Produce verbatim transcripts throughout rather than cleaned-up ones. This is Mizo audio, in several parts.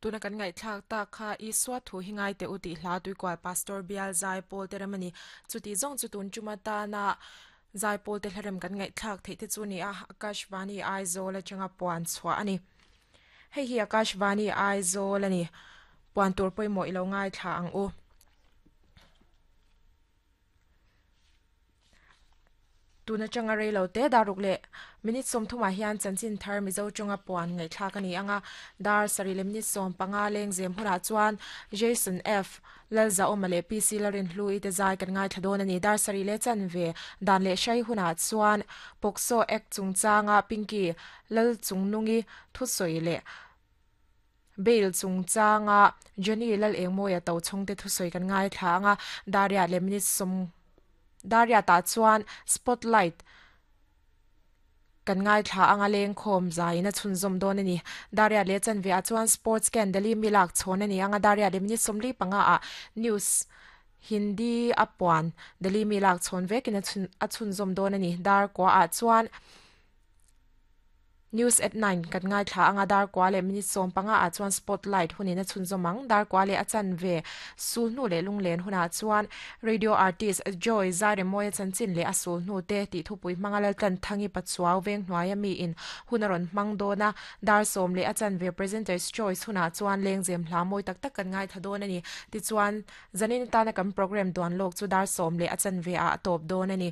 Tuna kan ngai thlak ta kha Isua thu hi ngai te uti hla tuikual pastor bial zai pawl te ramani chuti zong chu tun chuma ta na zai pawl te hlarem kan ngai thlak thei te chu ni a Akashvani Aizawl atanga puan chhuah ani. Hei hi Akashvani Aizawl ani puan tur pawimawh ilo ngai thla ang u. Tuna changa reilo te daruk le minute som thuma hian chanchin thar mizo chunga puan ngai thlak ani anga dar sari le minute som panga leng zem hura chuan Jason F Lalza omale P C Larin hlui te zai kan ngai thadon ani dar sari le chan ve dan le shai huna chuan Pokso ek chungchanga Pinky Lal chungnungi thu soi le bail chungchanga Johnny Lal engmoya to chungte thu soi kan ngai thla anga daria le minute som daria ta chuan spotlight kan ngai thla anga leng khom zai na chun zom don ani daria le chan ve a chuan sports can dali milak chhon ani anga daria le minute somli panga a news Hindi apuan dali milak chhon ve kin a chun a chun zom don ani dar kwa a chuan news at nine kan ngai thla anga dar kwa le minute som panga a chuan spotlight hunina chun zomang dar kwa le achan ve sul nu le lunglen huna chuan radio artist Joy Zare moya chanchin le asul nu te ti thupui mangalal tan thangi pachuaw veng hnuaia mi in hunaron mangdona dar som le achan ve presenters choice huna chuan lengzem hla moi tak tak kan ngai thadon ani ti chuan zanin ta na kam program duan lok chu dar som le achan ve a top don ani.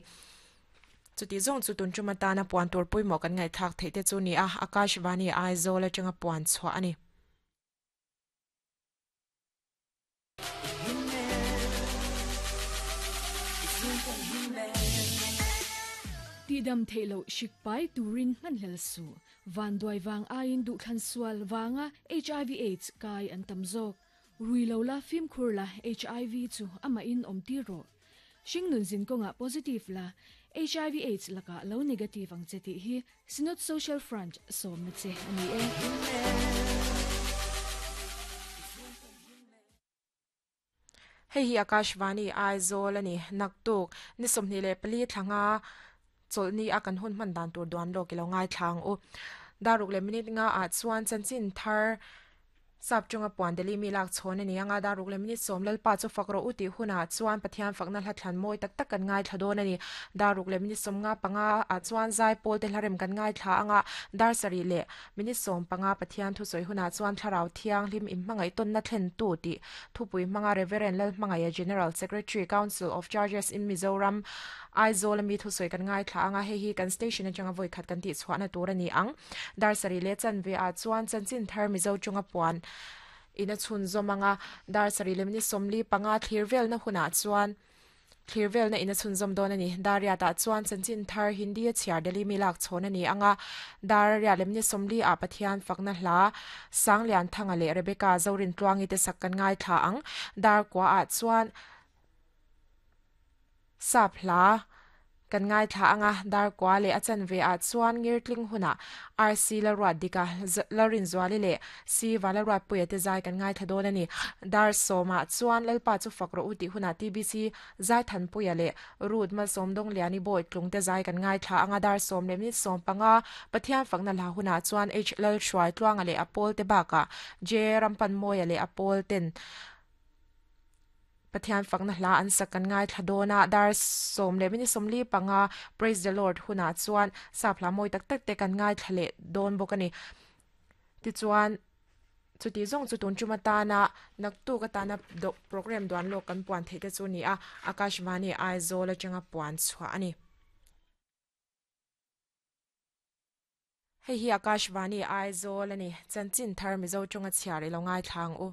Chuti zong chu tun chuma ta na puan tur pawimawh kan ngai thak thei te chu ni a Akashvani Aizawl atanga puan chhuah ani. Tidam theilo shikpai turin manhlel su van duai wang ain du thlan sual wanga H I V AIDS kai an tamzok ruilo la fim khur la H I V chu ama in om ti ro shingnun zin konga positive la H I V AIDS laka lo negative ang cheti hi Synod Social Front som na che ani e. Hei hi Akashvani Aizawl ani naktuk ni somni le pali thlanga cholni a kan hun man dan tur duan lo kilo ngai thlang u daruk le minute nga a chuan chanchin thar sap chunga puan deli mi lak chhon ani anga daruk le minute som lalpa chu fakro uti huna chuan pathian fakna hla thlan moi tak tak kan ngai thladon ani daruk le minute som nga panga a chuan zai pol te hlarem kan ngai thla anga dar sari le minute som panga pathian thu soi huna chuan thlarau thiang hlim im mangai ton na thlen tu ti thupui manga Reverend Lal Mangaya General Secretary Council of Churches in Mizoram Aizawl mi thu soi kan ngai thla anga he hi kan station atanga voi khat kan ti chhuana tur ani ang dar sari le chan ve a chuan chanchin thar mizo chunga puan ina chhun zomanga dar sari le minute somli panga thlir vel na huna chuan thlir vel na ina chhun zom don ani daria ta chuan chanchin thar Hindi a chhiar deli mi lak chhon ani anga daria le minute somli a pathian fakna hla sanglian thanga le Rebecca Zorin tluangi te sak kan ngai thla ang dar kwa a chuan sap hla kan ngai thla anga dar kwa le achan ve a chuan ngirtling huna R C la ruat dika larin zwali le C wala ruat puya te zai kan ngai thadon ani dar soma chuan lalpa chu fakro uti huna T B C zai than puya le rut ma somdong liani boy tlung te zai kan ngai thla anga dar som le minute som panga pathian fakna la huna chuan H lal shwai tluanga le apol te baka J rampan moya le apol ten pathian fakna hla an sak kan ngai thladona dar som le minute somli panga praise the Lord huna chuan sapla moi tak tak te kan ngai thlale don bokani ti chuan chuti zong chu tun chuma ta na naktu ka ta na do program duan lo kan puan thei te chu ni a Akashvani Aizawl atanga puan chhuah ani. Hei hi Akashvani Aizawl ani chanchin thar mizo chunga chhiar ilo ngai thlang u.